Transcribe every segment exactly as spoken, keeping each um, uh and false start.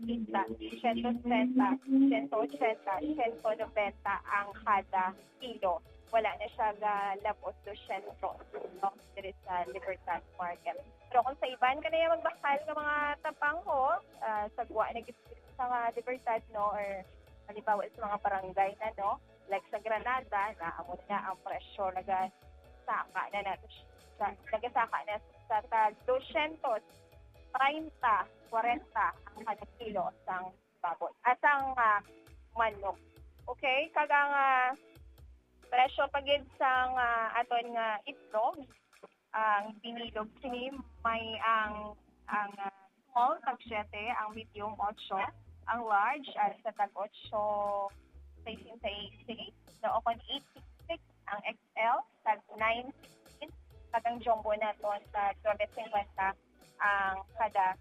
sesenta, siyento setenta, siyento ochenta, siyento nobenta ang kada kilo. Wala na siya galabot dosyentos, no? Diri sa Libertad Market. Pero kung sa iban ka na yung magbakal ng mga tapangho, ah, sa guwa na gid sa mga Libertad, no? Or halimbawa sa mga barangay na, no? Like sa Granada, na amo na ang presyo, nagasaka na nato siya. Nagasaka na sa tag dosyentos treinta, kwarenta ang kada kilo sang baboy. At ang, ah, manok. Okay? Kag ang, ah, presyo pa gid sang, ah, aton nga itlog, ang binilog sini may ang, ang, ah, small tag siyete, ang medium otso, ang large, ah, sa tag otso sesenta y seis, no, o kon eight six six ang X L, tag nine sixteen, kag ang jumbo naton sa nuebe cincuenta ang kada,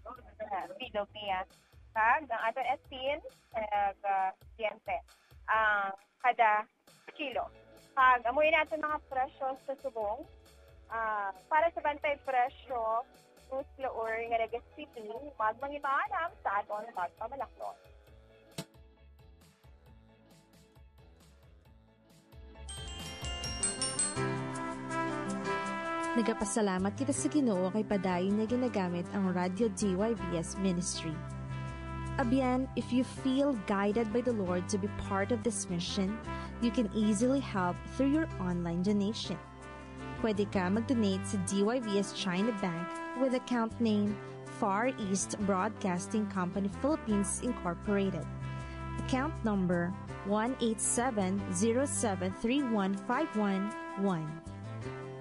ah, bilog niya. Kag ang aton asin, kag, ah, diente, ang kada kilo. Kag amo ini aton mga presyo sa subong. Ah, para sa bantay presyo, Cruz Laur nga Naga City, magmangimaanam sa aton magpamalaklon. Nagapasalamat kita sa Ginoo kay padayon niya ginagamit ang Radyo D Y V S Ministry. Abyan, if you feel guided by the Lord to be part of this mission, you can easily help through your online donation. Pwede ka mag-donate sa D Y V S China Bank with account name Far East Broadcasting Company Philippines Incorporated. Account number one eight seven zero seven three one five one one.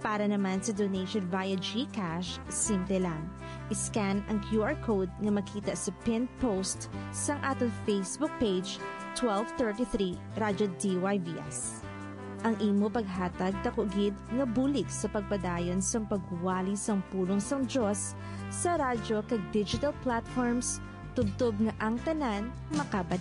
Para naman sa donation via GCash, simple lang. I-scan ang Q R code nga makita sa pinned post sang aton Facebook page, twelve thirty-three Radyo D Y V S. Ang imo paghatag daku gid nga bulig sa pagpadayon sang pagwali sang pulong sang Dios sa radyo kag digital platforms, tubtob nga ang tanan makabati.